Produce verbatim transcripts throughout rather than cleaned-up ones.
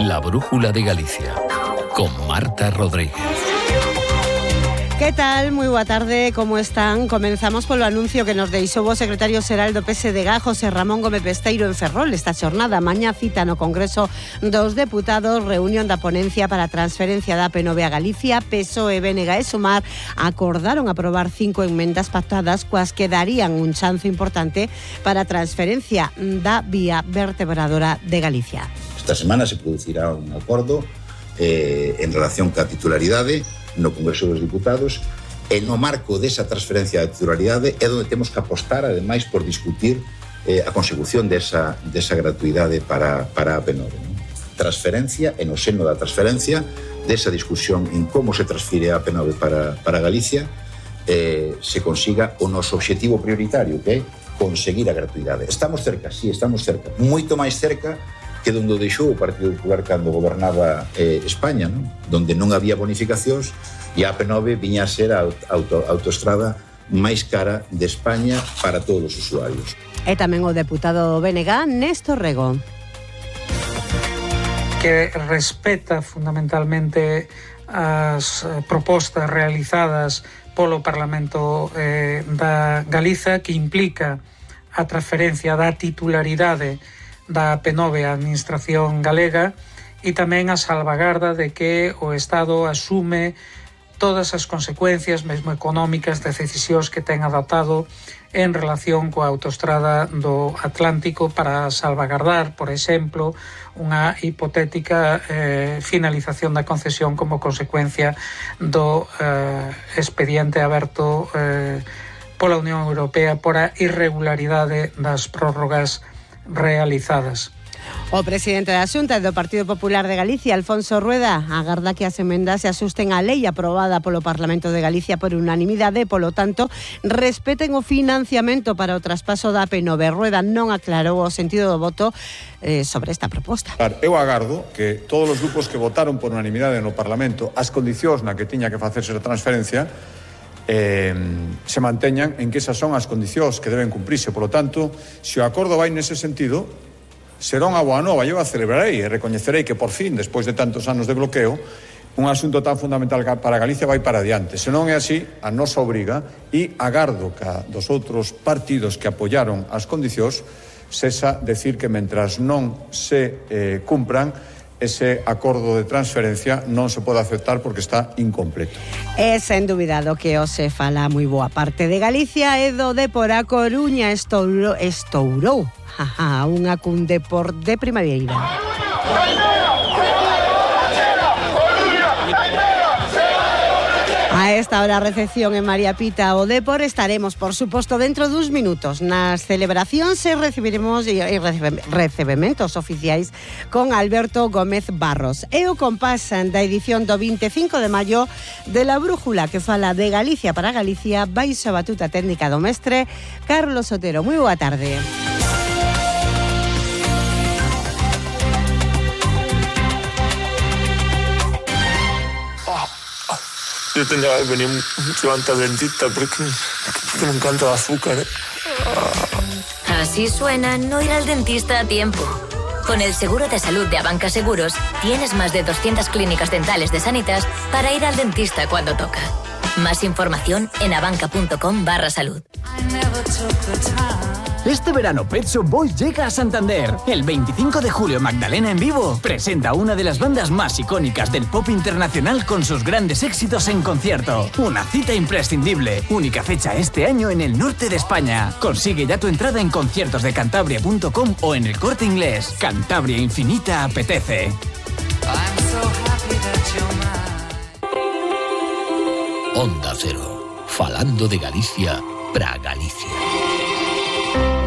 La Brújula de Galicia, con Marta Rodríguez. Que tal? Moi boa tarde, como están? Comenzamos polo anuncio que nos deixou o secretario xeral do P S D G, José Ramón Gómez Besteiro, en Ferrol. Esta xornada, mañá cita no Congreso dos Deputados, reunión da ponencia para a transferencia da A P nove a Galicia. P S O E, B N G e Sumar acordaron aprobar cinco enmendas pactadas coas que darían un chance importante para a transferencia da vía vertebradora de Galicia. Esta semana se producirá un acordo eh, en relación ca titularidade no Congreso dos Diputados, e no marco desa transferencia de titularidade é onde temos que apostar, ademais, por discutir eh, a consecución desa, desa gratuidade para, para a A P nove. ¿no? Transferencia, e no seno da transferencia, desa discusión en como se transfire a A P nove para, para Galicia, eh, se consiga o noso obxectivo prioritario, que é conseguir a gratuidade. Estamos cerca, sí, estamos cerca. Moito máis cerca que donde deixou o Partido Popular cando gobernaba eh, España, ¿no? Donde non había bonificacións e a A P nove viña a ser a auto, autoestrada máis cara de España para todos os usuarios. E tamén o deputado B N G, Néstor Rego. Que respeta fundamentalmente as propostas realizadas polo Parlamento eh, da Galiza, que implica a transferencia da titularidade da A P nove á Administración Galega e tamén a salvagarda de que o Estado asume todas as consecuencias, mesmo económicas, de decisións que ten adoptado en relación coa autoestrada do Atlántico para salvagardar, por exemplo, unha hipotética eh, finalización da concesión como consecuencia do eh, expediente aberto eh, pola Unión Europea por a irregularidade das prórrogas realizadas. O presidente da Xunta do Partido Popular de Galicia, Alfonso Rueda, agarda que as emendas se asusten á lei aprobada polo Parlamento de Galicia por unanimidade e, polo tanto, respeten o financiamento para o traspaso da A P nove. Rueda non aclarou o sentido do voto eh, sobre esta proposta. Eu agardo que todos os grupos que votaron por unanimidade no Parlamento as condicións na que tiña que facerse a transferencia Eh, se manteñan en que esas son as condicións que deben cumprirse. Por lo tanto, se o acordo vai nese sentido, será unha boa nova. Eu a celebrarei e recoñecerei que por fin, despois de tantos anos de bloqueo, un asunto tan fundamental para Galicia vai para adiante. Se non é así, a nosa obriga, e agardo que dos outros partidos que apoiaron as condicións cesa decir que mentras non se eh, cumpran, ese acordo de transferencia non se pode aceptar porque está incompleto. É sen dúbida do que se fala moi boa parte de Galicia e do de por a Coruña estourou, estourou jaja, unha cun Depor de primavera. A esta hora, recepción en María Pita o Depor. Estaremos, por suposto, dentro duns minutos nas celebracións e recibiremos e recebementos oficiais con Alberto Gómez Barros. E o compás da edición do veinticinco de maio de La Brújula, que fala de Galicia para Galicia, baixo a batuta técnica do mestre Carlos Otero. Moi boa tarde. Yo tendría que venir mucho antes al dentista porque, porque me encanta el azúcar, ¿eh? Así suena no ir al dentista a tiempo. Con el seguro de salud de Abanca Seguros, tienes más de doscientas clínicas dentales de Sanitas para ir al dentista cuando toca. Más información en abanca.com barra salud. Este verano Pet Shop Boys llega a Santander. El veinticinco de julio Magdalena en vivo presenta a una de las bandas más icónicas del pop internacional con sus grandes éxitos en concierto. Una cita imprescindible. Única fecha este año en el norte de España. Consigue ya tu entrada en conciertos de cantabria punto com o en el Corte Inglés. Cantabria Infinita apetece. Onda Cero, falando de Galicia para Galicia.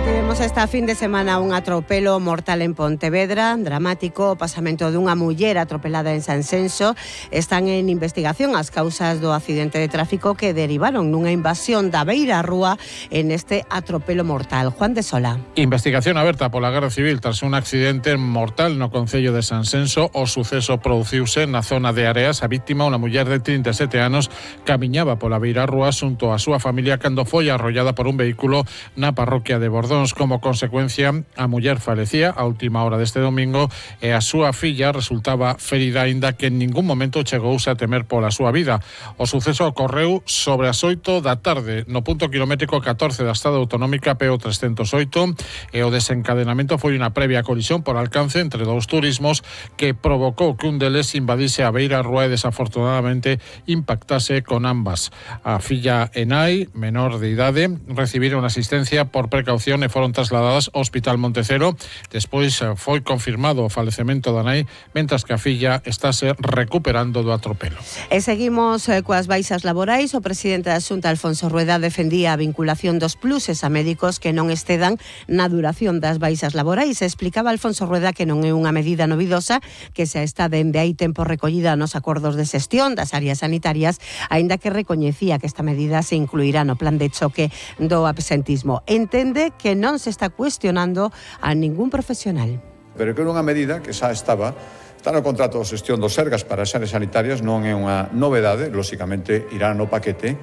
Tivemos esta fin de semana un atropelo mortal en Pontevedra, dramático, o pasamento dunha muller atropelada en Sanxenxo. Están en investigación as causas do accidente de tráfico que derivaron nunha invasión da beira rúa en este atropelo mortal. Juan de Sola. Investigación aberta pola Garda Civil tras un accidente mortal no concello de Sanxenxo. O suceso produciuse na zona de Areas. A víctima, unha muller de trinta e sete anos, camiñaba pola beira rúa xunto a súa familia cando foi arrollada por un vehículo na parroquia de Bordón. razóns como consecuencia a muller falecía a última hora deste domingo e a súa filla resultaba ferida, aínda que en ningún momento chegouse a temer pola súa vida. O suceso ocorreu sobre as oito da tarde no punto kilométrico catorce da estrada autonómica P O trescentos oito e o desencadenamento foi unha previa colisión por alcance entre dous turismos que provocou que un deles invadise a beira rúa e desafortunadamente impactase con ambas. A filla e nai, menor de idade, recibiron asistencia por precaución e foron trasladadas ao Hospital Montecero. Despois foi confirmado o falecemento da nai, mentras que a filla estáse recuperando do atropelo. E seguimos eh, coas baixas laborais. O presidente da Xunta, Alfonso Rueda, defendía a vinculación dos pluses a médicos que non excedan na duración das baixas laborais. Explicaba Alfonso Rueda que non é unha medida novidosa, que xa está dende hai tempo recollida nos acordos de xestión das áreas sanitarias, aínda que recoñecía que esta medida se incluirá no plan de choque do absentismo. Entende que non se está cuestionando a ningún profesional. Pero que era unha medida que xa estaba, está no contrato de xestión dos Sergas para as áreas sanitarias, non é unha novedade, lóxicamente irá no paquete,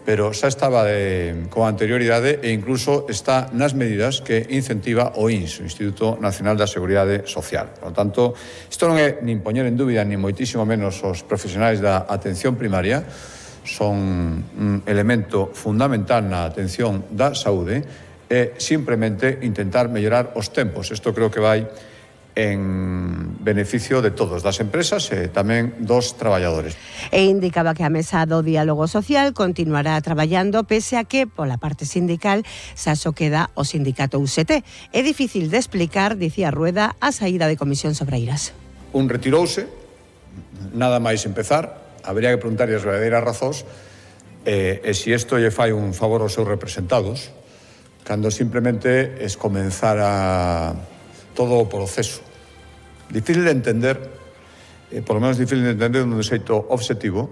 pero xa estaba de, con anterioridade e incluso está nas medidas que incentiva o I N S, o Instituto Nacional da Seguridade Social. Por lo tanto, isto non é nin poñer en dúbida, ni moitísimo menos os profesionais da atención primaria, son un elemento fundamental na atención da saúde e simplemente intentar mellorar os tempos. Isto creo que vai en beneficio de todos, das empresas e tamén dos traballadores. E indicaba que a mesa do diálogo social continuará traballando pese a que, pola parte sindical, xa só queda o sindicato U S T. É difícil de explicar, dicía Rueda, a saída de Comisións Obreiras. Un retirouse, nada máis empezar, habría que preguntarlle as verdadeiras razóns e, e se isto lle fai un favor aos seus representados, cando simplemente es comenzar a todo o proceso. Difícil de entender, eh, por lo menos difícil de entender dun xeito obxectivo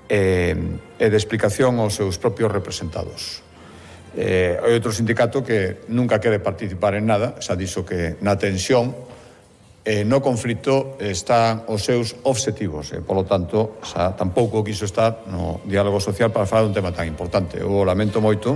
eh, e de explicación aos seus propios representados. Eh, hai outro sindicato que nunca quere participar en nada, xa dixo que na tensión e eh, no conflito están os seus obxectivos e, polo tanto, xa tampouco quiso estar no diálogo social para falar dun tema tan importante. Eu lamento moito